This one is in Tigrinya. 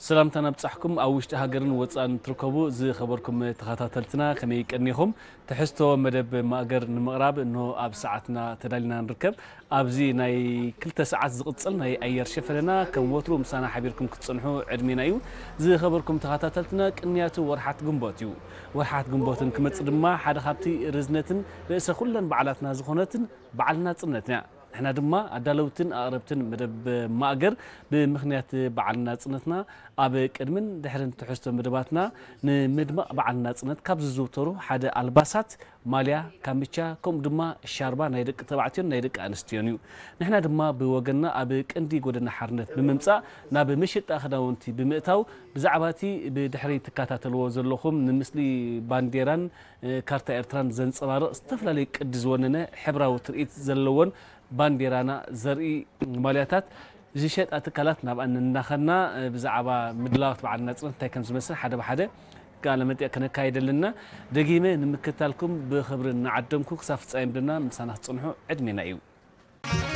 ሰላምታና ብጻሕኩም ኣብ ውሽጢ ሃገርን ወጻእን ትርከቡ ዝኸበርኩም ተኸታተልትና ከመይ ቀኒኹም? ትሕዝቶ መደብ ማእገር ንምቕራብ እንሆ ኣብ ሰዓትና ተዳሊና ንርከብ። ኣብዚ ናይ ክልተ ሰዓት ዝቕጽል ናይ ኣየር ሸፈነና ከም ወትሩ ምሳና ሓቢርኩም ክትጸንሑ ዕድሜና እዩ። ዝኸበርኩም ተኸታተልትና ቅንያቱ ወርሓት ግንቦት እዩ። ወርሓት ግንቦትን ክመጽእ ድማ ሓደ ካብቲ ርዝነትን ርእሰ ኩለን በዓላትና ዝኾነትን በዓል ናጽነትና እያ። ንሕና ድማ ኣዳለውትን ኣቕረብትን መደብ ማእገር ብምኽንያት በዓል ናጽነትና ኣብ ቅድምን ድሕርን ትሕዝቶ መደባትና ንምድማቕ በዓል ናጽነት ካብ ዝዝውተሩ ሓደ ኣልባሳት ማልያ፣ ካምቻ ከምኡ ድማ ሻርባ ናይ ደቂ ተባዕትዮን ናይ ደቂ ኣንስትዮን እዩ። ንሕና ድማ ብወገንና ኣብ ቀንዲ ጎደና ሓርነት ብምምጻእ ናብ መሸጣ ክዳውንቲ ብምእታው ብዛዕባ እቲ ብድሕሪ ትከታተልዎ ዘለኹም ንምስሊ ባንዴራን ካርታ ኤርትራን ዘንጸባርቕ ዝተፈላለየ ቅዲ ዝወነነ ሕብራዊ ትርኢት ዘለዎን ባንዴራና ዘርኢ ማልያታት ዝሸጣ ትካላት ናብኣን እናኸድና ብዛዕባ ምድላዋት በዓል ናጽነት እንታይ ከም ዝመስል ሓደ ብሓደ ቃለ መጠይቕ ከነካይደልና ደጊመ ንምክታልኩም ብኽብሪ እናዓደምኩ ክሳብ ፍጻሜ ምድና ምሳና ክትጽንሑ ዕድሜና እዩ።